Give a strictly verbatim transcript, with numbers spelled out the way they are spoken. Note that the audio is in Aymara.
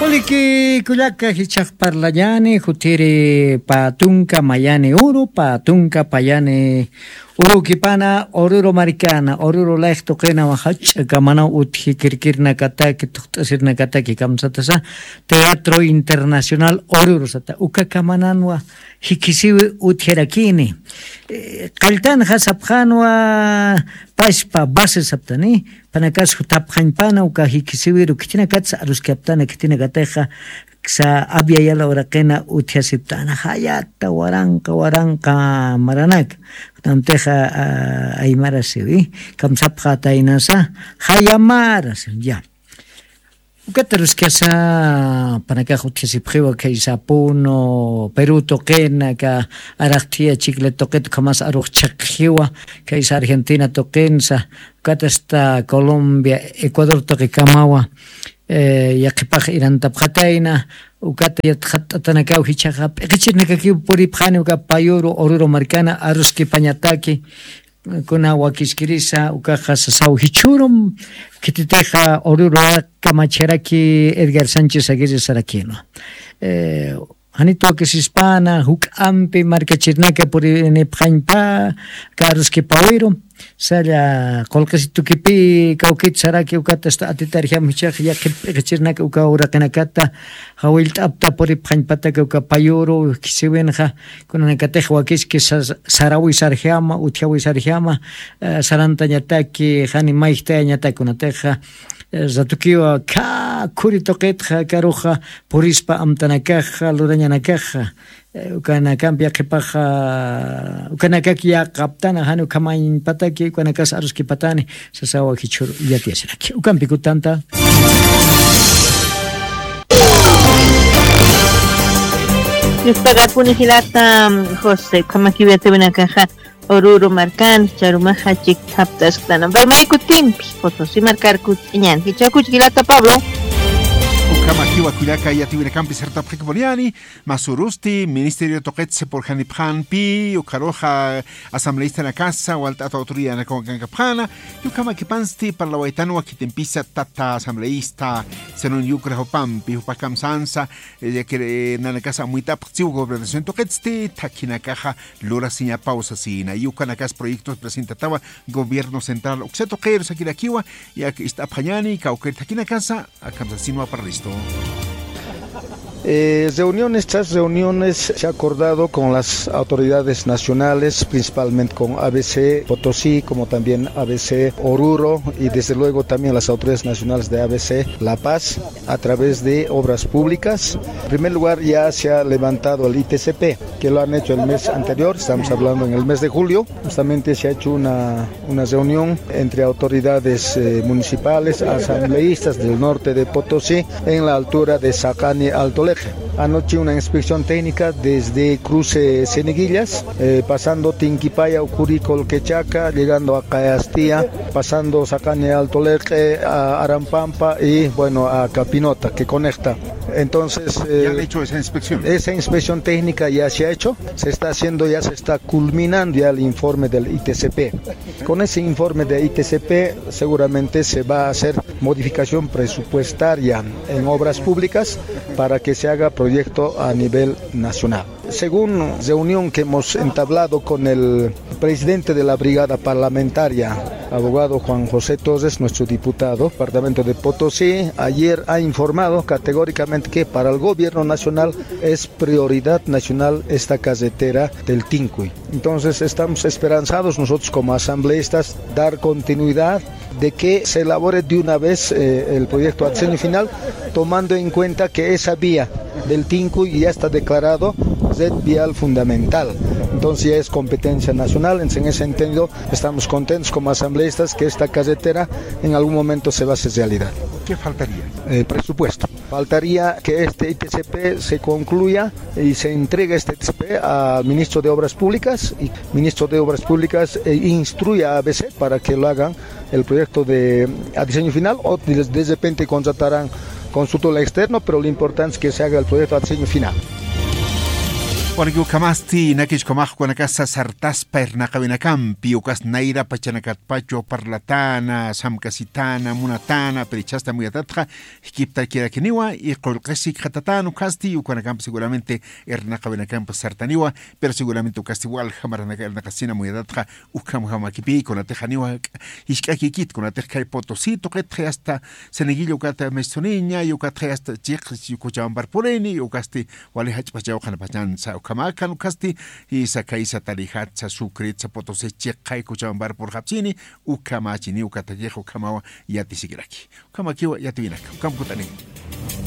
Liki kullaka jichhax parlañani, jutiri pä tunka mayani uru, pä tunka payani urukipana, Oruro markana, Oruro layx tuqinawa jach'a kamanaw utji kirkirnakataki, tuqt'asirnakataki kamsatasa, Teatro Internacional Oruro sata, uka kamananwa jikisiwi utjarakini. Eh, qalltanxa sapxanwa pachpa base saptani, panakas jutapxañpana uka jikisiwiru khitinakatsa aruskaptana, khitinakatixa sa abyayala uraqina utjasiptana, jayata waranqa, waranqa maranaka. Kunamtixa, ah, aymarasiwi, kamsapxataynasa, jayamarasiwi, ya. Ukat aruskasa, panakax utjasipxiwa, khaysa Puno, Perú tuqina, aka araqthiya Chiclayo tuqit ukhamas arux chhiqjiwa, khaysa Argentina tuqinsa, ukat hasta Colombia, Ecuador tuqikamawa, eh, yaqhipax irantapxatayna, ukat yatxatt'atanakaw jichhaxa p'iqichirnakakiw puripxani uka payuru Oruro markana aruskipañataki, kuna wakiskirisa, ukaxa sasaw jichhürum, khititixa Oruro kamacharaki Edgar Sánchez Aguirre sarakïnwa. Eh, janit wakisispana, juk'ampi markachirnaka purinipxañpa, aka aruskipawiru, salla qullqisitukipï kawkit saraki ukat hasta atitarjam jichhax yaqhip p'iqichirnaka uka uraqinakata, jawillt'apta puripxañpataka uka payuru, khisiwinxa, kunanakatix wakiski sa-, sarawisarjama, utjawisarjama, eh, sarantañataki, jani mayjtayañataki kunatixa, eh, ratukiwa khä khuri tuqitxa, karuxa, purispa amtanakaxa, lurañanakaxa, eh, ukanakampi yaqhipaxa, ukanakak yaqaptana, jani ukhamañpataki, ukanakas aruskipatani, sasawa jichhür yatiyasiraki. Ukampi kutanta. Yuspagarpuni jilata, José, ukhamakiw yatiwinakaxa Oruro markan, charumaxa chikthaptasktana. Pero may kutimpi, Potosí markar kut'iñan. Jichhakuch jilata Pablo. Ukhamakiwa kullaka yatiwinakampi sartapxikipuniani, masurusti, Ministerio tuqitsi purjanipxanpi, ukharuxa asambleístanakasa, walt'ata autoridadnakaw kankapxana, Yukhamakipansti parlawaytanwa khitimpisa tata asambleísta Zenón Yucra jupampi, jupax kamsansa, eh, ya que, eh, nanakasa amuyt'apxtsiw gobernación tuqitsti, thakhinakaxa lurasiñapaw sasina. Yukanakas proyectos presentatawa gobierno central uksa tuqiru sakirakiwa, yak ist'apxañani, kawkir thakhinakasa, akamsasinwa para listo. Eh, reuniones tras reuniones se ha acordado con las autoridades nacionales, principalmente con A B C Potosí, como también A B C Oruro y desde luego también las autoridades nacionales de A B C La Paz, a través de obras públicas. En primer lugar, ya se ha levantado el I T C P, que lo han hecho el mes anterior, estamos hablando en el mes de julio. Justamente se ha hecho una, una reunión entre autoridades, eh, municipales, asambleístas del norte de Potosí, en la altura de Sacani Altoleje. Anoche una inspección técnica desde cruce Cieneguillas, eh, pasando Tinquipaya, Ucurico, Colquechaca, llegando a Cayastía, pasando Sacani Altoleje, a Arampampa y, bueno, a Capinota, que conecta. Entonces, eh, ¿ya han hecho esa inspección? Esa inspección técnica ya se ha hecho, se está haciendo, ya se está culminando ya el informe del I T C P. Con ese informe de I T C P seguramente se va a hacer modificación presupuestaria en obras públicas para que se haga proyecto a nivel nacional. Según reunión que hemos entablado con el presidente de la brigada parlamentaria, abogado Juan José Torres, nuestro diputado, departamento de Potosí, ayer ha informado categóricamente que para el gobierno nacional es prioridad nacional esta carretera del Tincuy. Entonces estamos esperanzados nosotros como asambleístas dar continuidad de que se elabore de una vez, eh, el proyecto a diseño final, tomando en cuenta que esa vía del Tincuy ya está declarado red vial fundamental. Entonces ya es competencia nacional. En ese entendido, estamos contentos como asambleístas que esta carretera en algún momento se va a hacer realidad. ¿Qué faltaría? Eh, presupuesto. Faltaría que este I T C P se concluya y se entregue este I T C P al ministro de Obras Públicas, y ministro de Obras Públicas, eh, instruya a A B C para que lo hagan el proyecto de, a diseño final, o de, de repente contratarán consultor externo, pero lo importante es que se haga el proyecto a diseño final. Warki ukhamasti nakichkamax kunakasa sartaspa irnaqawinakampi ukas nayra pachanakatpachu parlatäna samkasitäna munatäna pirichhastamuyatatxa jkiptakirakiniwa. Y qullqisi khatatän ukhasti ukanakampi seguramente irnaqawinakampi sartaniwa. Pero seguramente ukasti walja maranaka irnaqasina muyatatxa ukhamakipi kunatixaniwa. Jisk'akikit kunatix khay potosito qitxi asta senegilla ukata mesuniña y ukatxi asta chiqis kuchawan parpurini y ukasti wali jach'pachaw qhanapachansa ukhamakan ukhasti. Isa khaysa tarijatsa sukritsa potosi chiqay kuchawan parpurxapsini. Ukhamachini ukatakix ukhamawa yatisikiraki. Ukhamakiwa yatiwinaka ukhamkut'aniwa.